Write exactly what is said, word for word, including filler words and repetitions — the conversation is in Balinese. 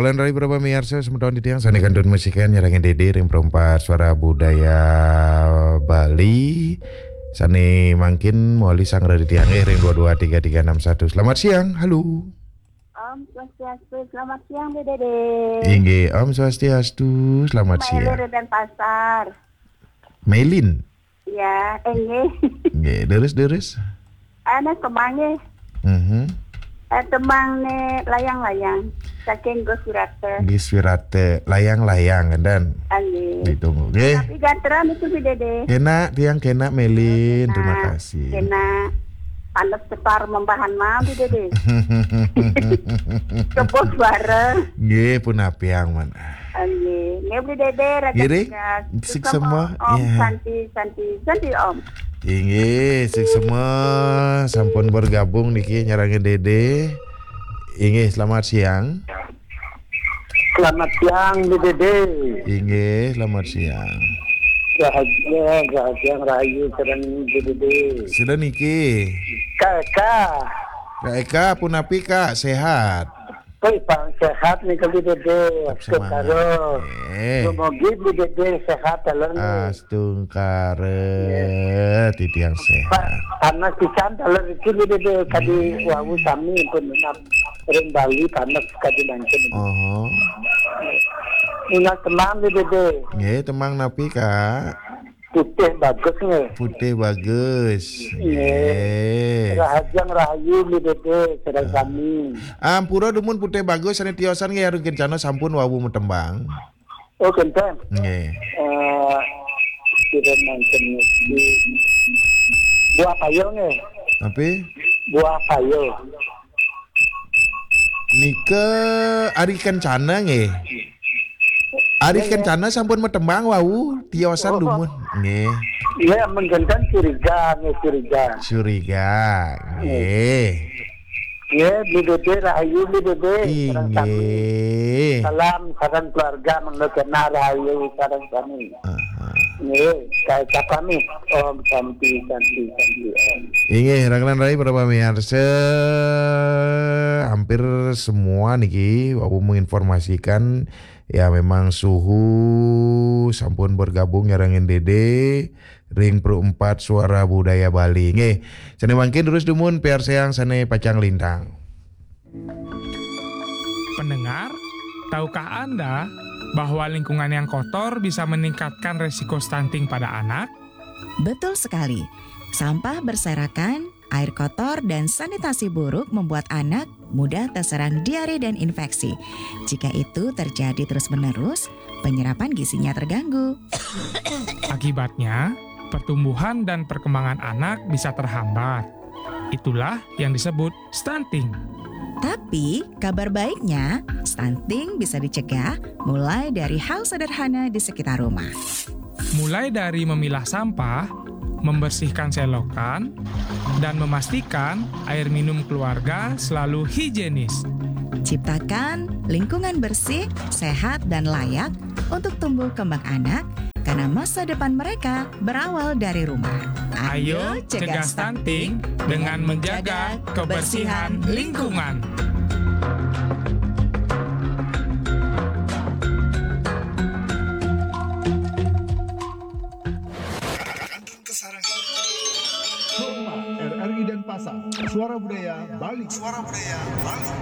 Lan rai para pamiarsa, semeton titiang sané kantun masikan nyarengin Dédé ring Perumpat Suara Budaya Bali. Sané mangkin mawali sang rai titiang ring dua dua tiga tiga enam satu. Selamat siang. Halo. Om Swastiastu, selamat siang, Bu Dédé. Inggih, Om Swastiastu, selamat Mbak Eli siang. Denpasar. Melin. Ya, inggih. Nggih, terus, terus. Ana tembang nggih. Mhm. Eh, tembang né layang-layang. Saking Gus Wirata. Gus Wirata, layang-layang, dan Inggih. Ditunggu, nggih. Tapi gatra niku, Bu Dédé. Kénak, tiang kénak, Melin. Terima Kénak, kasih. Kénak. Panes tepar membahan mah, Bu Dédé. Kebos bareng. Nggih, pun apiang, man. Nggih, nggih, Bu Dédé, raga Nggih, Ring. Tegas. Sik Suksma, semua, Om, ya. Santi, Santi, Santi, Om. Inggih, sik semua sampun bergabung niki nyarengin Dédé. Inggih, selamat siang. Selamat siang, Bu Dédé. Inggih, selamat siang. Rahayu, rahayu, rahayu, sareng Bu Dédé. Sida niki. Kak Eka. Kak Eka, punapi, Kak? Sehat? Wih, Pak, sehat nih, Bu Dédé. Tetap semangat. Karo. Eh. Dumugi Bu Dédé sehat, dalam nih. Astungkara, Iya. Titiang Pak, sehat. Panas pisan, dalam iki, Bu Dédé. Tadi Hmm. Wau sami pun menap ring Bali, panas kadi mangkin. Oho. Ingat tembang, Bu Dédé. Nggih, tembang napi, Kak? Putih Bagus nggih. Putih Bagus. Nggih. Nggih. Rahajeng rahayu, Bu Dédé, sareng Ah. sami. Ampura dumun Putih Bagus sané tiosan nggih, Arung Kencana sampun wau matembang. Oh, kénten. Nggih. Eh, kira mangkin niki. Buah payo nggih. Tapi? Buah payo. Nika Ari Kencana nggih. Ari Iya, iya. Kencana sampun matembang wau, tiosan Oh. dumun. Nggih. Iya, mangkin curiga nggih, curiga. Curiga. Nggih. Nggih, Bu Dédé rahayu, Bu Dédé. Sareng sami. Inggih. Salam sareng keluarga, mangda kena rahayu sareng sami. Aha. Nggih, saya ucapkan nih, Om Santi, Santi, Santi, Om. Inggih, rangkelan rai para pamiarsa, hampir semua niki wau menginformasikan, ya, memang suhu sampun bergabung nyarengin Dédé ring Perumpat Suara Budaya Bali. Nggih, sané mangkin terus dumun piarsayang sané pacang lintang. Pendengar, tahukah Anda bahwa lingkungan yang kotor bisa meningkatkan resiko stunting pada anak? Betul sekali. Sampah berserakan, air kotor, dan sanitasi buruk membuat anak mudah terserang diare dan infeksi. Jika itu terjadi terus-menerus, penyerapan gizinya terganggu. Akibatnya, pertumbuhan dan perkembangan anak bisa terhambat. Itulah yang disebut stunting. Tapi, kabar baiknya, stunting bisa dicegah mulai dari hal sederhana di sekitar rumah. Mulai dari memilah sampah, membersihkan selokan, dan memastikan air minum keluarga selalu higienis. Ciptakan lingkungan bersih, sehat, dan layak untuk tumbuh kembang anak, karena masa depan mereka berawal dari rumah. Ayo cegah stunting dengan menjaga kebersihan lingkungan. Rumah R R I Denpasar, Suara Budaya Bali. Suara Budaya Bali.